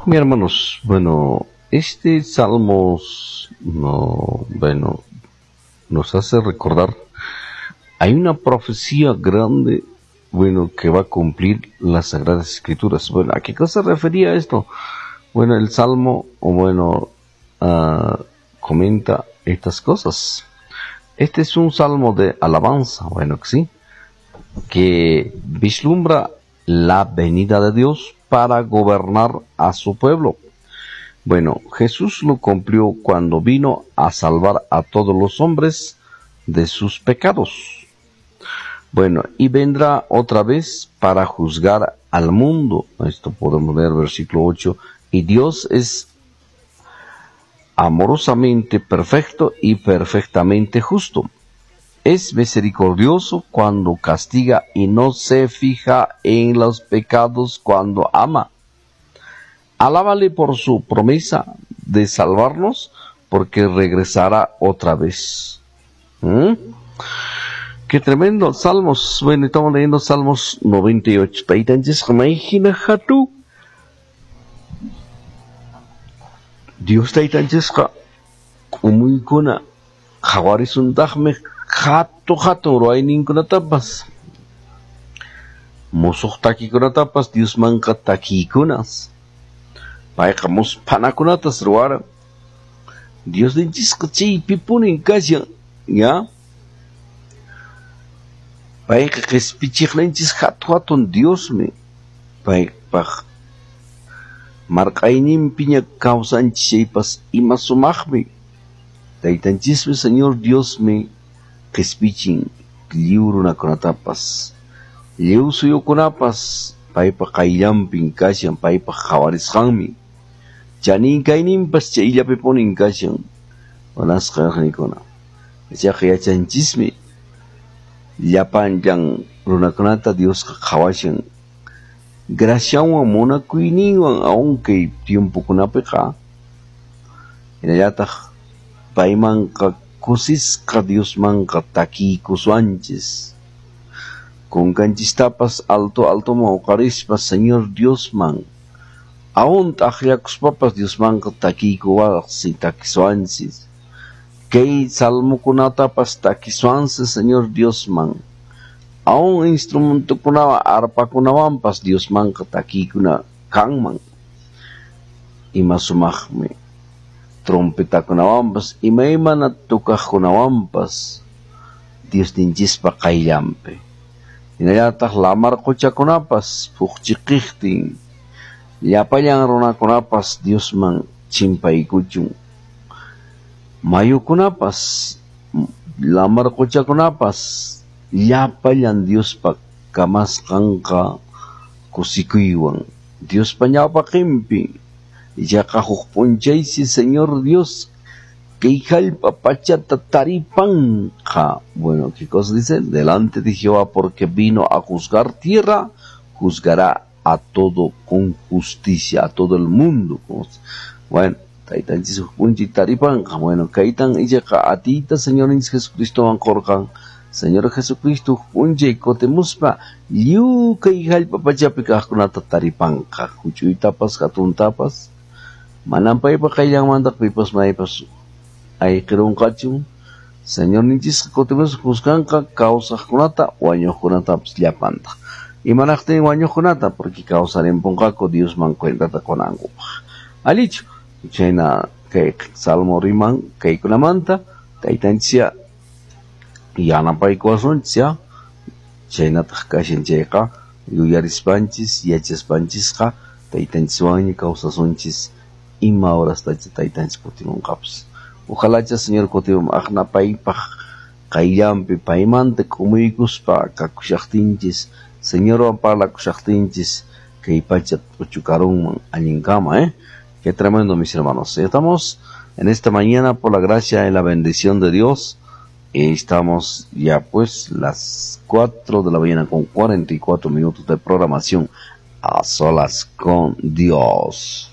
Mi hermanos, bueno, este Salmos, no, bueno, nos hace recordar, hay una profecía grande, bueno, que va a cumplir las Sagradas Escrituras. Bueno, ¿a qué cosa refería esto? Bueno, el Salmo, bueno, comenta estas cosas. Este es un salmo de alabanza, bueno, que sí, que vislumbra la venida de Dios para gobernar a su pueblo. Bueno, Jesús lo cumplió cuando vino a salvar a todos los hombres de sus pecados. Bueno, y vendrá otra vez para juzgar al mundo. Esto podemos leer versículo 8. Y Dios es amorosamente perfecto y perfectamente justo. Es misericordioso cuando castiga y no se fija en los pecados cuando ama. Alábale por su promesa de salvarnos, porque regresará otra vez. Qué tremendo. Salmos. Bueno, estamos leyendo Salmos 98. Dios taytanchisqa k'umuykuna qhawarisuntaqmi hatu hatun ruwayninkunatapas, musuq takikunatapas Diosmanqa takiykunas. Payqa musphanakunatas ruwaran. Diosninchisqa chaypipunin kashan, ya. Payqa qispichiqninchis hatu hatun Diosmi. Paypaq marq'ayninpiña kawsanchis chaypas ima sumaqmi. Taytanchismi Señor Diosmi qispichin lliw runakunatapas, lliw suyukunapas paypa qayllanpin kashan, paypa qhawarisqanmi. Chanin kayninpas chayllapipunin kashan. Wanasqa nikuna. Ichaqa yachanchismi llapanllan runakunata Diosqa qhawashan. Graciawan munakuyninwan aunque tiempokunapiqa hinallataq paymanqa kusisqa Diosmanqa takiykusuanchis. Kunkanchistapas alto altoman uqarispa Señor Diosman aún t'aqllakuspapas Diosmanqa takiykuwaqsi takisuanchis. Kay salmokunatapas takisuansi Señor Diosman. Aún instrumentokunawan arpakunawanpas Diosmanqa takiykuna kanman. Ima sumaqmi trompetakunawanpas imaymana tukaqkunawanpas Diosninchispa qayllanpi. Hinallataq lamar quchakunapas phuqchiqiqtin llapallan runakunapas Diosman chimpaykuchun. Mayukunapas lamar quchakunapas llapallan Diospa kamasqanqa kusikuywan Diospa ñawpaqinpi. Ichaqa huk p'unchaysi Señor Dios kay hallp'a pachata taripanqa. Bueno, ¿qué cosa dice? Delante de Jehová, porque vino a juzgar tierra, juzgará a todo con justicia, a todo el mundo. Bueno, taytanchis huk p'unchay taripanqa. Bueno, kaytan ichaqa atiyta Señor Jesucristo qurqan. Señor Jesucristo p'unchay kutimuspa lliw kay hallp'a pachapi kaqkunata taripanqa, huch'uytapas hatuntapas. Manam paypa qayllanmanta pipas maypas ayqirunqachu. Señorninchisqa kutimuspa juzganqa kawsaqkunata wañuqkunatapas llapanta. Imanaqtin wañuqkunata? Porque kawsarimpunqaku Diosman cuentata qunankupaq. Allichu, chayna kay Salmo riman kaykunamanta taytanchis yanapaykuwasunchis ya. Chaynataq kashan chayqa yuyarispanchis yachaspanchisqa taytanchiswanña kawsasunchis ima horastacha taytanchis kutimunqapas. Ojalacha Señor kutimun aqna paypaq qayllanpi paymanta k'umuykuspa kakushaqtinchis Señorwan parlakushaqtinchis kay pacha p'uchukarunman allinkama, ¿eh? Qué tremendo, mis hermanos. Estamos en esta mañana por la gracia y la bendición de Dios. Estamos ya pues las 4 de la mañana con 44 minutos de programación a solas con Dios.